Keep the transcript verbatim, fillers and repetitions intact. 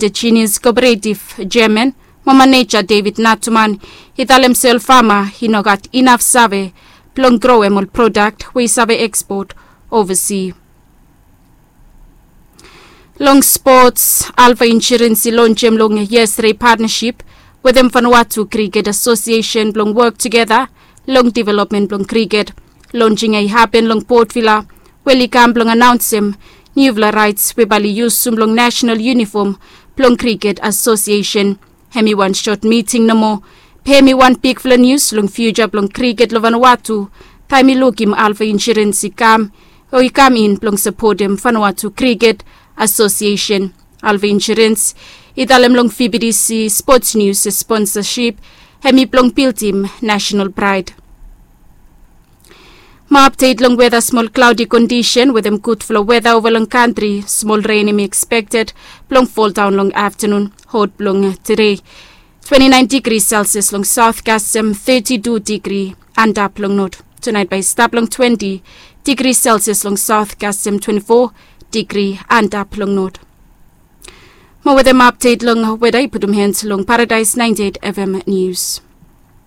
Indigenous Cooperative Chairman mo maneja David Natuman i talem se ol fama i no gat inaf save blong growem ol prodak we i save ekspot ovasi. Long spots, Alpha Insurance i lonjem long yestere patnasip wetem Vanuatu Cricket Association blong wok tugeta long developmen blong kriket. Lonjing ya i hapen long Port Vila, we oli kam blong anaonsem niufala raets we bae oli yusum long nasenal yunifom blong Cricket Association. Hem i wan sot miting nomo, be hem i wan bigfala nius long fiuja blong kriket long Vanuatu, taem i lukim Alpha Insurance i kam o i kam in blong sapotem Vanuatu Cricket Association. Alpha Insurance i talem long V B T C Sports News se sponsasip hem i blong bildim nasenal praed. Mo apdet long weta, smol klaodi kondisen wetem gudfala weta ova long kantri. Smol ren hem i ekspekted blong foldaon long aftanun. Hot blong tede, twenti naen digri Celsius long saot kasem teti tu digri antap long not. Tunaet bae i stap long twenti digri Celsius long saot kasem twenti fo digri antap long not. Mo wetem apdet long weta i putum hans long Paradaes naenti eit FM Nius.